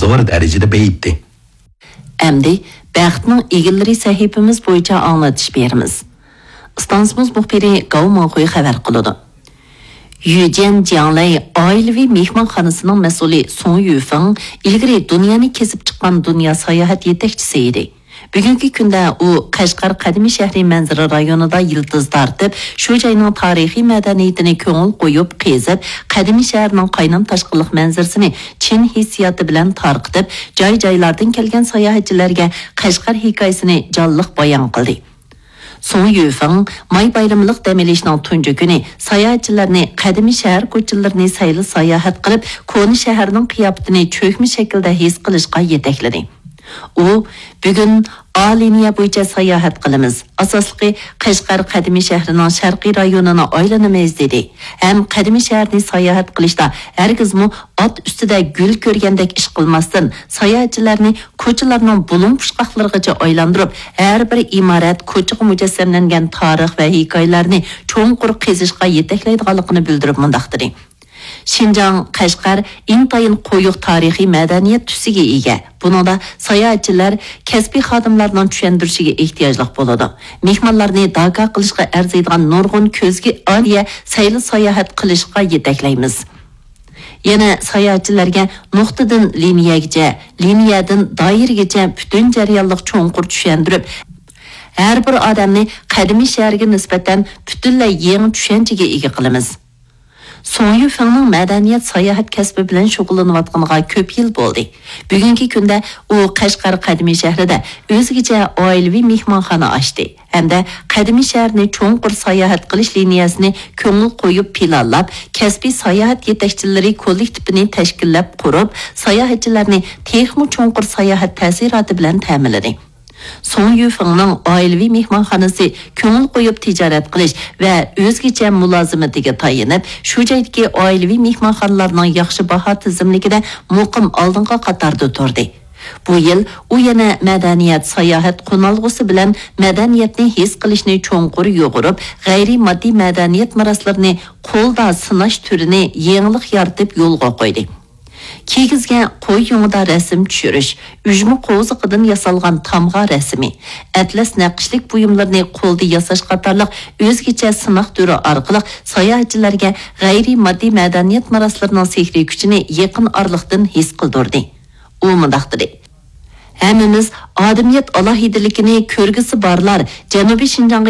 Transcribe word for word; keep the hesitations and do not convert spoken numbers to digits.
زور دەرىجىدە بېيىتتى. ئەمدى بەختنىڭ ئىگىلىرى سەھىپىمىز بويىچە ئاڭلىتىش بېرىمىز. ئىستانسىمىز مۇخبىرى گاۋ ماڭخۇي خەۋەر قىلىدۇ. يۈجيەن جياڭلەي ئائىلىۋى مېھمانخانىسىنىڭ مەسئۇلى سۇڭ يۈفېڭ ئىلگىرى دۇنيانى كېزىپ چىققان دۇنيا ساياھەت يېتەكچىسى ئىدى. بۈگۈنكى كۈندە ئۇ قەشقەر قەدىمىي شەھىرى مەنزىرە رايونىدا يىلتىز تارتىپ، شۇ جاينىڭ تارىخىي مەدەنىيىتىنى كۆڭۈل قويۇپ قېزىپ، قەدىمىي شەھەرنىڭ قاينام تاشقىنلىق مەنزىرىسىنى چىن ھېسسىياتى بىلەن تارقىتىپ، جاي-جايلاردىن كەلگەن ساياھەتچىلەرگە قەشقەر ھېكايىسىنى جانلىق بايان قىلدى. سۇڭ يۈفېڭ ماي بايرىملىق دەم ئېلىشنىڭ تۇنجى كۈنى ساياھەتچىلەرنى قەدىمىي شەھەر كوچىلىرىنى سەيلە ساياھەت قىلىپ، كونا شەھەرنىڭ قىياپىتىنى چۆكمە شەكىلدە ھېس قىلىشقا يېتەكلىدى. ئۇ، بۈگۈن ئا لىنىيە بويىچە ساياھەت قىلىمىز. ئاساسلىقى، قەشقەر قەدىمىي شەھىرىنىڭ شەرقىي رايونىنى ئايلىنىمىز، دېدى ھەم قەدىمىي شەھەرنى ساياھەت قىلىشتا ھەرگىزمۇ ئات ئۈستىدە گۈل كۆرگەندەك ئىش قىلماستىن، ساياھەتچىلەرنى كوچىلارنىڭ بۇلۇڭ پۇچقاقلىرىغىچە ئايلاندۇرۇپ، ھەر بىر ئىمارەت، كوچىغا مۇجەسسەملەنگەن تارىخ ۋە ھېكايىلەرنى چوڭقۇر قېزىشقا يېتەكلەيدىغانلىقىنى بىلدۈرۈپ مۇنداق دېدى: شىنجاڭ، قەشقەر ئىنتايىن قويۇق تارىخىي مەدەنىيەت تۈسىگە ئىگە. بۇنىڭدا ساياھەتچىلەر كەسپىي خادىملارنىڭ چۈشەندۈرۈشىگە ئېھتىياجلىق بولىدۇ. مېھمانلارنى داكا قىلىشقا ئەرزىيدىغان نۇرغۇن كۆزگە ئارىيە سەيلە ساياھەت قىلىشقا يېتەكلەيمىز. يەنە ساياھەتچىلەرگە نۇقتىدىن لىنىيەگىچە، لىنىيەدىن دائىرىگىچە پۈتۈن جەريانلىق چوڭقۇر چۈشەندۈرۈپ، ھەر بىر ئادەمنى قەدىمىي شەھەرگە نىسبەتەن پۈتۈنلەي يېڭى چۈشەنچىگە ئىگە قىلىمىز. سۇڭ يۈفېڭنىڭ مەدەنىيەت ساياھەت كەسپى بىلەن شۇغۇللىنىۋاتقىنىغا كۆپ يىل بولدى. بۈگۈنكى كۈندە ئۇ قەشقەر قەدىمىي شەھىرىدە ئۆزگىچە ئائىلىۋى مېھمانخانا ئاچتى ھەمدە قەدىمىي شەھەرنى چوڭقۇر ساياھەت قىلىش لىنىيەسىنى كۆڭۈل قويۇپ پىلانلاپ، كەسپىي ساياھەت يېتەكچىلىرى كوللېكتىپىنى تەشكىللەپ قۇرۇپ، ساياھەتچىلەرنى تېخىمۇ چوڭقۇر ساياھەت تەسىراتى بىلەن تەمىنلىدى. سۇڭ يۈفېڭنىڭ ئائىلىۋى مېھمانخانىسى كۆڭۈل قويۇپ تىجارەت قىلىش ۋە ئۆزگىچە مۇلازىمىتىگە تايىنىپ، شۇ جايدىكى ئائىلىۋى مېھمانخانىلارنىڭ ياخشى باھا تىزىملىكىدە مۇقىم ئالدىنقى قاتاردا تۇردى. بۇ يىل ئۇ يەنە مەدەنىيەت ساياھەت قونالغۇسى بىلەن مەدەنىيەتنى ھېس قىلىشنى چوڭقۇر يۇغۇرۇپ، غەيرىي ماددىي مەدەنىيەت مىراسلىرىنى قولدا سىناش تۈرىنى يېڭىلىق يارىتىپ يولغا قويدى. كىيگۈزگەن قوي يۇڭىدا رەسىم چۈشۈرۈش، ئۈجمە قوۋزىقىدىن ياسالغان تامغا رەسىمى، ئەتلەس نەقىشلىك بۇيۇملىرىنى قولدا ياساش قاتارلىق ئۆزگىچە سىناق تۈرى ئارقىلىق ساياھەتچىلەرگە غەيرىي ماددىي مەدەنىيەت مىراسلىرىنىڭ سېھرىي كۈچىنى يېقىن ئارىلىقتىن ھېس قىلدۇردى. ئۇ مۇنداق دېدى: ھەممىمىز ئادەمىيەت ئالاھىدىلىكىنى كۆرگۈسى بارلار جەنۇبىي شىنجاڭغا